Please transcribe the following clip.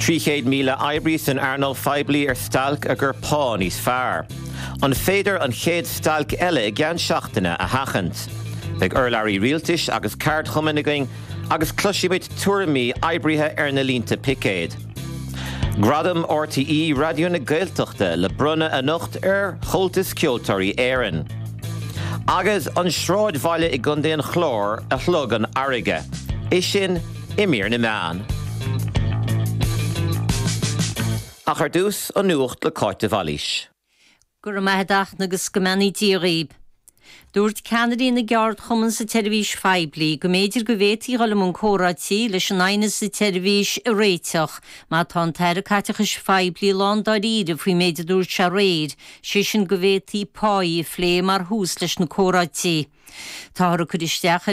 300,000 oibrí san earnáil phoiblí ar stailc ag iarraidh pá níos fearr. An féidir an chéad stailc eile i gceann seachtaine a sheachaint? Beidh urlabhraí rialtais agus ceardchumainn againn agus cloisfimid tuairimí oibrithe ar na línte picéid. Gradam RTÉ Raidió na Gaeltachta le bronnadh anocht ar Chomhaltas Ceoltóirí Éireann. Agus an sráidbhaile i gContae an Chláir a shlog an fharraige. É sin i mír na meán. Ach ar dtús, an nuacht le Cáit de Bhailís. Go raibh maith a't a Fhachtna agus go mbeannaí Dia dhaoib. Dúirt ceannairí na gceardchumann sa tseirbhís phoiblí go mb'fhéidir go bhféadfaí dhul i mbun comhráití leis an aighneas sa tseirbhís a réiteach má tá an tAire Caiteachais Phoiblí lándáiríre faoin méid a dúirt sé aréir, sé sin go bhféadfaí páí a phlé mar thús leis na comhráití. Táthar ag cur isteach ar.